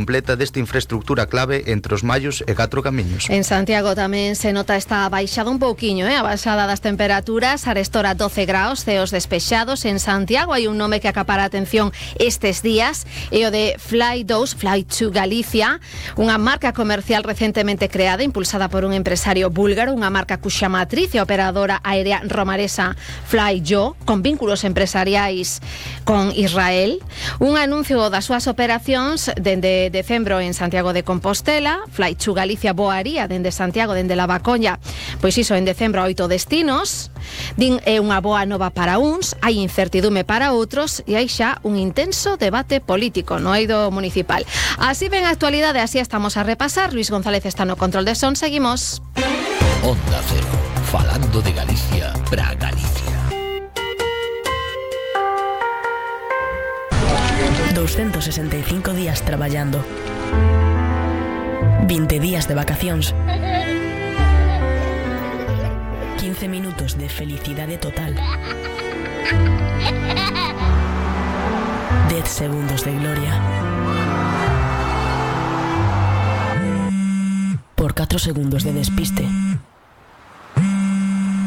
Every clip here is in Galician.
completa desta infraestructura clave entre os Mallos e Catro Camiños. En Santiago tamén se nota esta baixada un pouquiño, a baixada das temperaturas. Arestora 12 graus, ceos despexados. En Santiago hai un nome que acapara a atención estes días, e o de Fly to Galicia, unha marca comercial recentemente creada, impulsada por un empresario búlgaro, unha marca cuxa matriz e operadora aérea romaresa Flyjo, con vínculos empresariais con Israel. Un anuncio das súas operacións dende decembro en Santiago de Compostela. Fly to Galicia voaría dende Santiago, dende La Bacoña, pois iso, en decembro a 8 destinos. Din é unha boa nova para uns, hai incertidume para outros e hai xa un intenso debate político no eido municipal. Así ven a actualidade, así estamos a repasar. Luis González está no control de son, seguimos. Onda Cero, falando de Galicia para Galicia. 265 días traballando, 20 días de vacacións, 15 minutos de felicidade total, 10 segundos de gloria, por 4 segundos de despiste.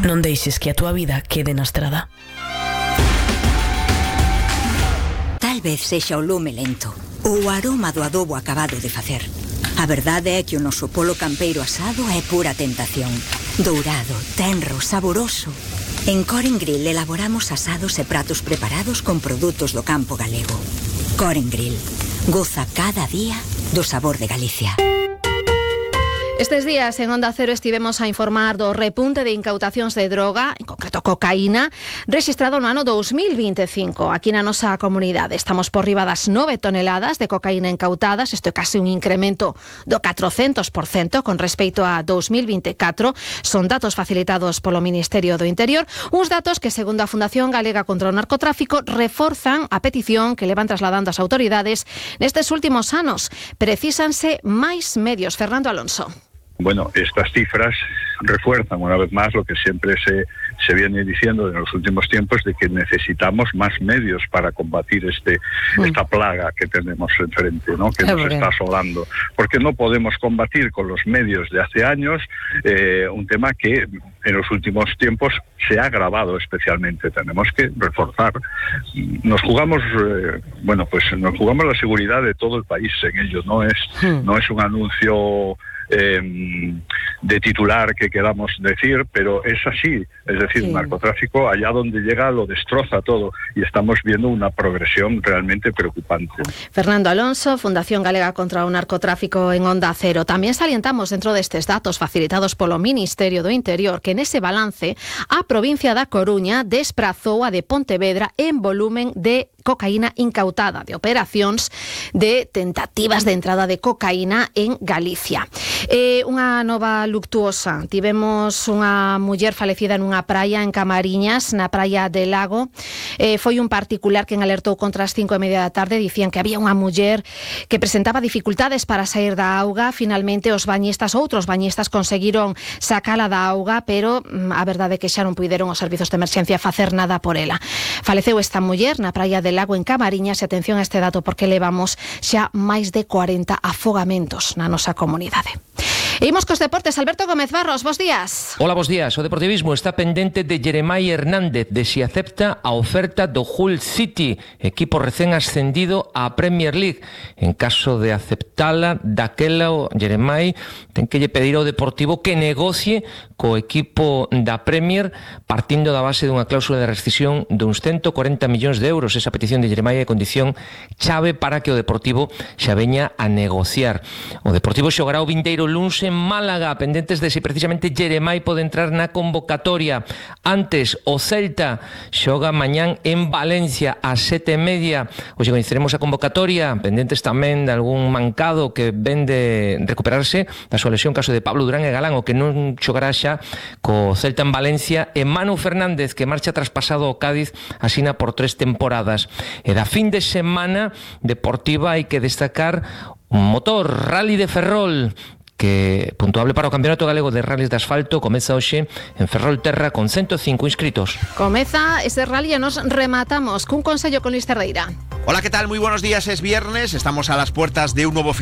Non deixes que a túa vida quede na estrada. Tal vez sexa o lume lento ou o aroma do adobo acabado de facer. A verdade é que o noso polo campeiro asado é pura tentación. Dourado, tenro, saboroso. En Coren Grill elaboramos asados e pratos preparados con produtos do campo galego. Coren Grill. Goza cada día do sabor de Galicia. Estes días en Onda Cero estivemos a informar do repunte de incautacións de droga, en concreto cocaína, rexistrado no ano 2025 aquí na nosa comunidade. Estamos por riba das 9 toneladas de cocaína incautadas. Isto é case un incremento do 400% con respecto a 2024. Son datos facilitados polo Ministerio do Interior, uns datos que, segundo a Fundación Galega contra o Narcotráfico, reforzan a petición que levan trasladando as autoridades nestes últimos anos. Precísanse máis medios. Fernando Alonso. Bueno, estas cifras refuerzan una vez más lo que siempre se viene diciendo en los últimos tiempos, de que necesitamos más medios para combatir esta plaga que tenemos enfrente, ¿no? Que nos está asolando. Porque no podemos combatir con los medios de hace años un tema que en los últimos tiempos se ha agravado especialmente. Tenemos que reforzar. Nos jugamos, nos jugamos la seguridad de todo el país en ello. No es un anuncio de titular que queramos decir, pero es así. Es decir, el narcotráfico allá donde llega lo destroza todo, y estamos viendo una progresión realmente preocupante. Fernando Alonso, Fundación Galega contra o Narcotráfico en Onda Cero. Tamén salientamos dentro destes datos facilitados polo Ministerio do Interior que nese balance a provincia da Coruña desprazou a de Pontevedra en volumen de cocaína incautada, de operacións de tentativas de entrada de cocaína en Galicia. Unha nova luctuosa. Tivemos unha muller falecida nunha praia en Camariñas, na praia de Lago. Foi un particular quen alertou contra as 5:30 da tarde. Dicían que había unha muller que presentaba dificultades para sair da auga. Finalmente outros bañistas conseguiron sacala da auga, pero a verdade é que xa non puideron os servizos de emerxencia facer nada por ela. Faleceu esta muller na praia de Lago en Camariñas, e atención a este dato porque levamos xa máis de 40 afogamentos na nosa comunidade. E imos cos deportes. Alberto Gómez Barros, bos días. Hola, bos días. O Deportivismo está pendente de Jeremai Hernández, de si acepta a oferta do Hull City, equipo recén ascendido á Premier League. En caso de aceptala, daquela o Jeremai ten que lle pedir ao Deportivo que negocie co equipo da Premier, partindo da base dunha cláusula de rescisión duns 140 millóns de euros. Esa petición de Jeremai é condición chave para que o Deportivo xa veña a negociar. O Deportivo xogará o vindeiro luns en Málaga, pendentes de se precisamente Jeremai pode entrar na convocatoria. Antes, o Celta xoga mañán en Valencia ás 7:30. Hoxe coñeceremos a convocatoria, pendentes tamén de algún mancado que ven de recuperarse da súa lesión, caso de Pablo Durán e Galán, o que non xogará xa co Celta en Valencia, e Manu Fernández, que marcha traspasado ao Cádiz, asina por 3 temporadas. E da fin de semana deportiva hai que destacar un motor, Rally de Ferrol, que puntuable para o Campeonato Galego de Rallys de Asfalto comeza hoxe en Ferrolterra con 105 inscritos. Comeza ese rally e nos rematamos cun consello con Luis Cerdeira. Hola, ¿qué tal? Muy buenos días, es viernes, estamos a las puertas de un nuevo fin de